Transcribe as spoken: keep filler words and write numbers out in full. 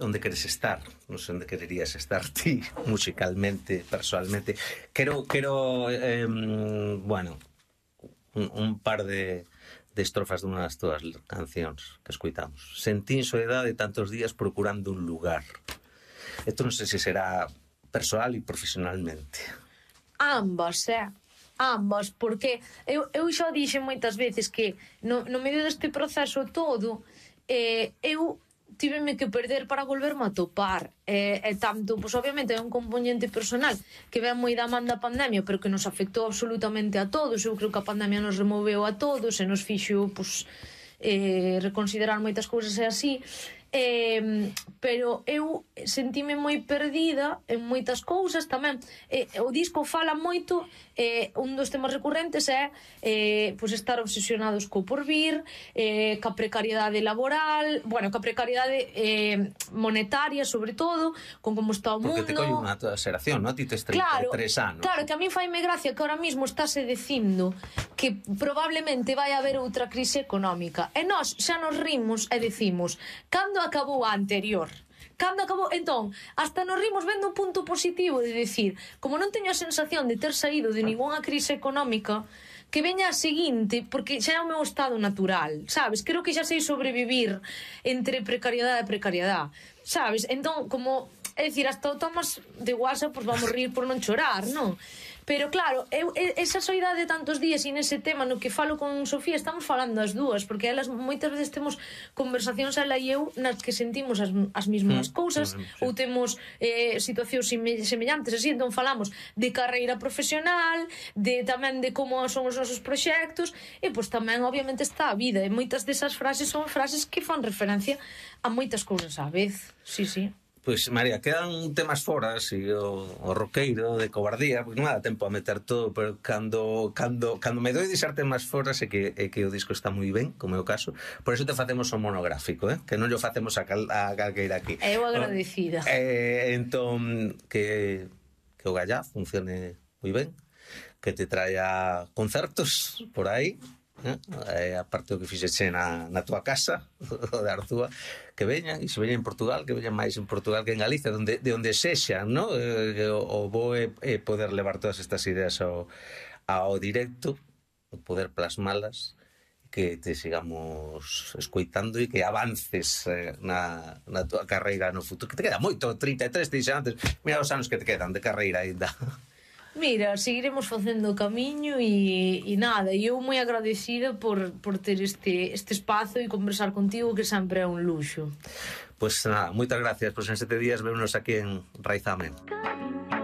onde queres estar, non sei onde quererías estar ti, musicalmente, personalmente. Quero, quero eh, bueno, un, un par de, de estrofas dunha das túas cancións que escuitamos. Sentín soedade tantos días procurando un lugar. Isto non sei se será persoal e profesionalmente. Ambas, eh? Ambas, porque eu, eu xa dixen moitas veces que no, no medio deste proceso todo eh, eu tiveme que perder para volverme a topar e, e tanto, pois obviamente é un componente personal que ven moi da man da pandemia, pero que nos afectou absolutamente a todos. Eu creo que a pandemia nos removeu a todos e nos fixo pois, eh, reconsiderar moitas cousas e así. Eh, pero eu sentime moi perdida en moitas cousas tamén. Eh, o disco fala moito, eh, un dos temas recurrentes é eh, pois estar obsesionados co porvir, eh, ca precariedade laboral, bueno, ca precariedade eh, monetaria sobre todo, con como está o mundo. Porque te colle unha toda xeración, non? Ti tes trinta e tres anos. Claro, que a mí faime gracia que ahora mismo estáse dicindo que probablemente vai haber outra crise económica e nós xa nos rimos e decimos, cando acabou a anterior? Cando acabou? Entón, hasta nos rimos vendo o punto positivo de decir, como non teño a sensación de ter saído de ningunha crise económica, que veña a seguinte, porque xa é o meu estado natural, sabes? Creo que xa sei sobrevivir entre precariedade e precariedade, sabes? Entón, como, é dicir, hasta o tomas de guasa, pois vamos rir por non chorar, non? Pero claro, eu, esa soidade de tantos días e nese tema no que falo con Sofía estamos falando as dúas, porque elas moitas veces temos conversacións ela e eu nas que sentimos as, as mesmas mm, cousas mm, sí. Ou temos eh, situacións semellantes así, entón falamos de carreira profesional, de tamén de como son os nosos proxectos e pois tamén obviamente está a vida e moitas desas frases son frases que fan referencia a moitas cousas á vez. Sí, sí. Pois, María, quedan temas fora, así, o, o roqueiro de cobardía, porque non dá tempo a meter todo, pero cando, cando, cando me doi deixar temas fora é que, é que o disco está moi ben, como é o caso, por eso te facemos un monográfico, eh? Que non lo facemos a, cal, a calqueira aquí. Eu agradecida. Eh, entón, que, que o Gallá funcione moi ben, que te traia concertos por aí, eh, aparte o que fixeche na, na tua casa o de Arzúa, que veñan, e se veñan en Portugal, que veñan máis en Portugal que en Galicia, donde, de onde sexan, no? Eh, o, o bo é, é poder levar todas estas ideas ao, ao directo, poder plasmalas, que te sigamos escoitando e que avances eh, na, na tua carreira no futuro, que te queda moito, trinta e tres, te dixen antes, mira os anos que te quedan de carreira ainda. Mira, seguiremos facendo o camiño e, e nada, e eu moi agradecida por, por ter este, este espazo e conversar contigo, que sempre é un luxo. Pois pues, nada, moitas gracias, pois pues en sete días vémonos aquí en Raizame.